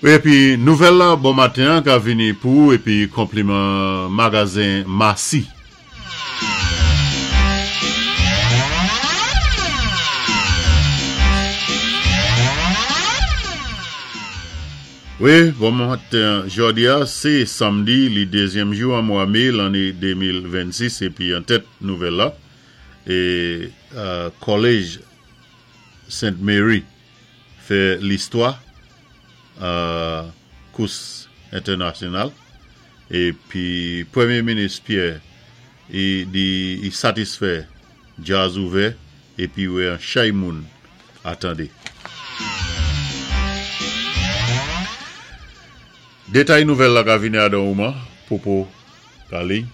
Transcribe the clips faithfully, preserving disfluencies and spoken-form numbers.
Wi, épi nouvèl la bon maten ka vini pou épi konpliman magazen Massy. Wi, bon maten jòdi a, sé sanmdi, li dézyèm jou an mwa mé lanné de mil vennsis épi an tèt nouvèl la é euh, College Saint Mary fè listwa euh, kous entènasyonal épi Pwémyé Minis Pierre i di i satisfè djaz ouvè épi wè an chay moun atandé. Détay nouvèl la ka vini adan ouman, popo kali.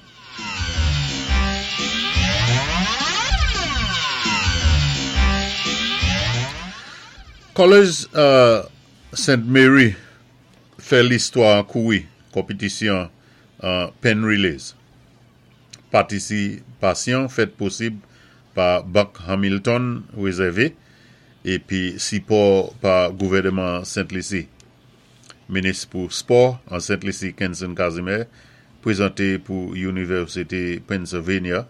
College euh, Saint Mary fè listwa an kouri konpitisyon an Penn Relays. Patisipasyon fèt posib pa Bank Hamilton Reserve épi sipò pa gouvèdman Sent Lisi. Minis pou spò an Sent Lisi Kenson Casimir prézanté pou Inivèsité Pennsylvania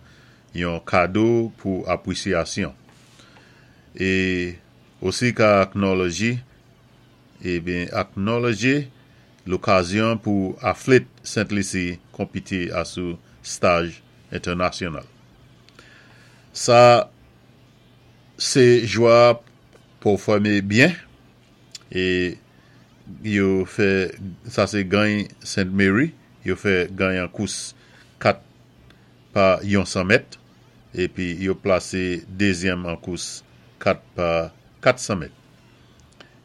yon kado pou apwisyasyon. É osi ka acknowledge ébyen acknowledge lokazyon pou athlèt Sent Lisi konpité asou staj entènasyonal. Sa sé jwa pèfòmé byen é yo fè sa sé gany Saint Mary, yo fè gany an kous kat pa yon san mèt épi yo plasé dézyèm an kous kat pa kat san mèt.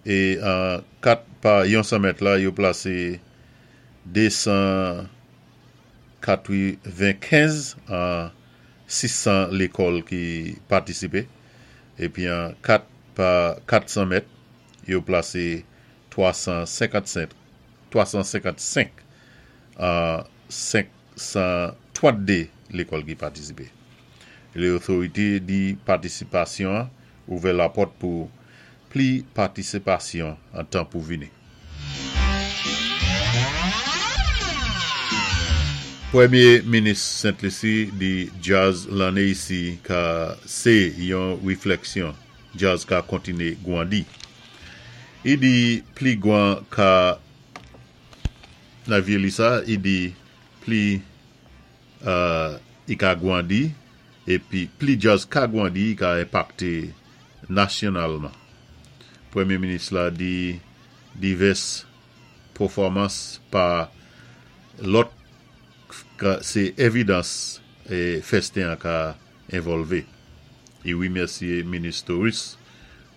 É an kat pa yon san mèt la yo plasé de san katwenkenz an sis san lékòl ki patisipé épi an kat pa kat san mèt yo plasé twa san senkannsenk twa san senkannsenk an senk san trannde lékòl ki patisipé. Lé otorité di patisipasyon ouvè lapòt pou pli patisipasyon an tan pou vini. Pwémyé Minis Sent Lisi di djaz lanné isi ka sé yon wiflèksyon djaz ka kontiné gwandi. I di pli gwan ka nan vye li sa, i di pli euh, i ka gwandi épi pli djaz ka gwandi i ka enpakté nasyonalman. Pwémyé Minis la di divès pèfòmans pa lòt ka sé évidans é festen an ka évòlvé. I wimèsyé Minis Torus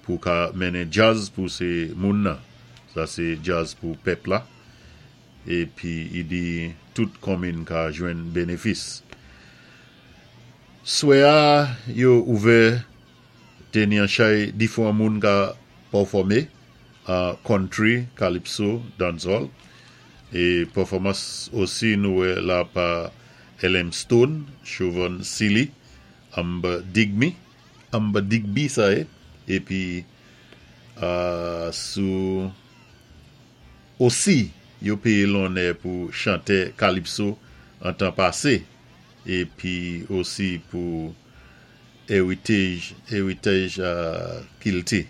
pou ka mennen djaz pou sé moun nan. Sa sé djaz pou pèp la. Épi i di tout konmin ka jwenn bénéfis. Swè a yo ouvè té ni an chay difwan moun ka pèfòmé an country, calypso, dancehall. É pèfòmans osi nou wè la pa L M Stone, Chauvin Sealy, Amber Digby, Amber Digby sa yé, épi euh, sou osi yo péyé lonnè pou chantè calypso an tan pasé épi osi pou Heritage Heritage euh, Kilti.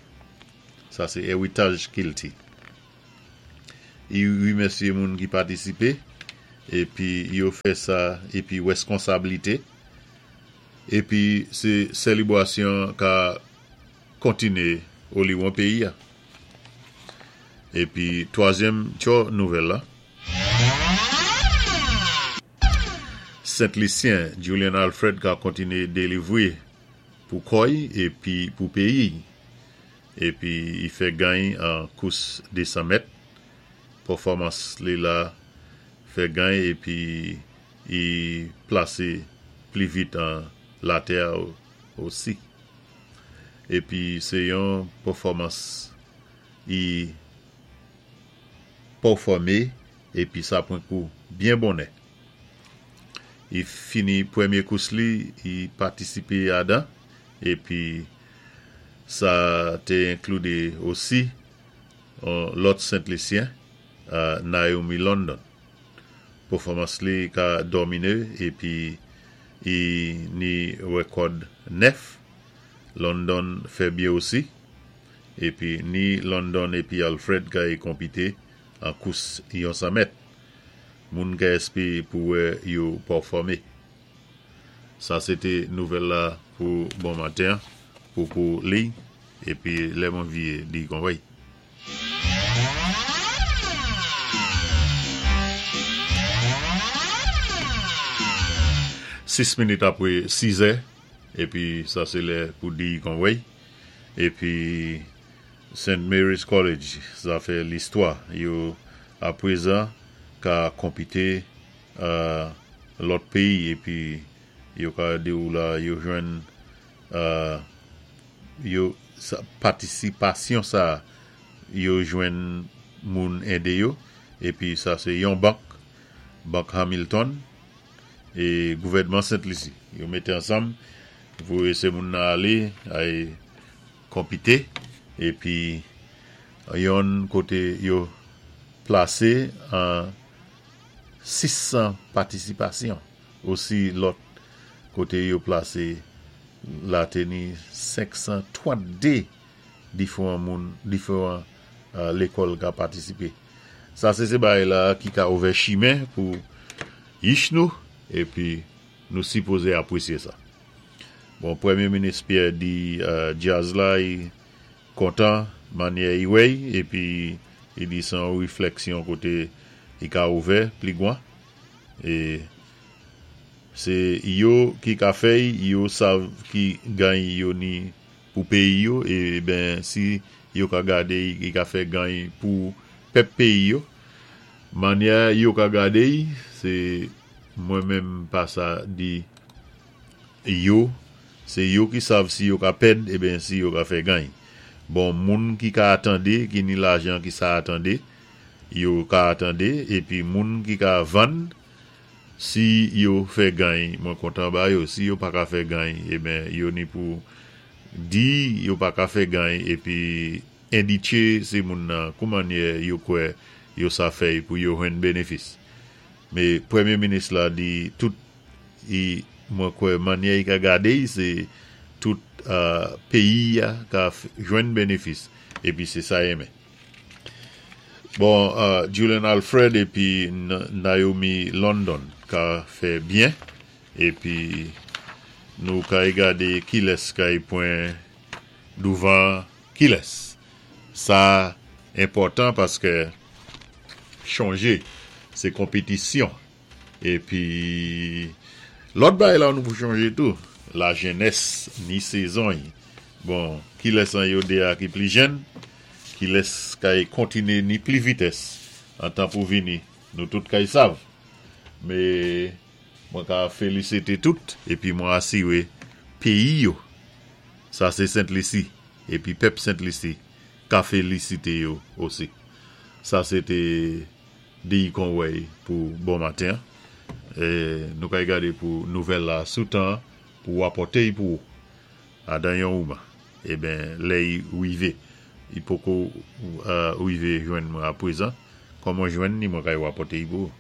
Sa sé Heritage Kilti. I wimèsyé moun ki patisipé épi yo fè sa épi wèskonsabilité épi sé sélébwasyon ka kontiné oliwon péyi a. Épi twazyèm tjo nouvèl la. Sent Lisyen Julian Alfred ka kontiné délivwé pou kò'y épi pou péyi. Épi i fè gany an kous de san mèt. Pèfòmans li la fè gany épi i plasé pli vit an latè osi. Épi sé yon pèfòmans i pèfòmé épi sa pran kou byen bonnè. I fini pwémyé kous li, i patisipé adan épi sa té enkli osi lòt Sent Lisyen. Naomi London. Pèfòmans li ka dòminé épi i ni wékòd nèf. London fè byen osi. Épi ni London épi Alfred kay konpité an kous yon san mèt. Moun ka èspé pou wè yo pèfòmé. Sa sé té nouvèl la pou bon maten, pou pou li, épi lè mwen viyé di kon wèy. Sis minit apwé sizè, épi sa sé lè pou di kon wèy. Épi Saint Mary's College, sa fè listwa. Yo apwézan ka konpité lòt péyi épi yo ka di ou la yo jwenn yo patisipasyon sa yo jwenn moun édé yo épi sa sé yon bank, Bank Hamilton é gouvèdman Sent Lisi. Yo mété ansanm voyé sé moun nan alé ay konpité épi yon koté yo plasé an sis san patisipasyon. Osi lòt koté yo plasé la té ni senk san twant-dé diféwan moun, diféwan lékòl ka patisipé. Sa sé sé bagay la ki ka ouvè chimen pou yich nou épi nou sipozé apwésyé sa. Bon, Pwémyé Minis Pierre di djaz la i kontan mannyè i wè'y épi i di sé yon wéflèksyon koté i ka ouvè pli gwan. É sé yo ki ka fè'y, yo sav ki gany yo ni pou péyi yo, é ben si yo ka gadé'y, i ka fè gany pou pèp péyi yo. Mannyè yo ka gadé'y, sé mwen menm pa sa di yo, sé yo ki sav si yo ka pèd, é ben si yo ka fè gany. Bon, moun ki ka atandé, ki ni lajan ki sa atandé, yo ka atandé, épi moun ki ka vann, si yo fè gany, mwen kontan ba yo. Si yo pa ka fè gany, é ben yo ni pou di yo pa ka fè gany, épi endiké sé moun nan kou mannyè yo kwè yo sa fè'y pou yo jwenn bénéfis. Mé Pwémyé Minis la di tout i mwen kwè mannyè i ka gadé'y, sé tout péyi a ka jwenn bénéfis, épi sé sa i renmen. Bon, Julian Alfred épi Naomi London ka fè byen, épi nou kay gadé kilès kay pwan douvan kilès. Sa enpòtan paské chonjé, sé konpitisyon. Épi lòt bagay la nou pou chonjé tou, la jenès ni sézon. Bon, kilès an yo dé a ki pli jèn, kilès kay kontiné ni pli vitès an tan pou vini, nou tout kay sav. Mé mwen ka félisité tout, épi mwen asiwé péyi yo. Sa sé Sent Lisi, épi pèp Sent Lisi ka félisité yo osi. Sa sé té di kon wèy pou bon maten. É nou kay gadé pou nouvèl la sou tan pou apòté'y pou adan yon ouman. É ben lè i wivé. I poko wivé jwenn mwen apwézan. Kòm mwen jwenn ni mwen kay apòté'y pou.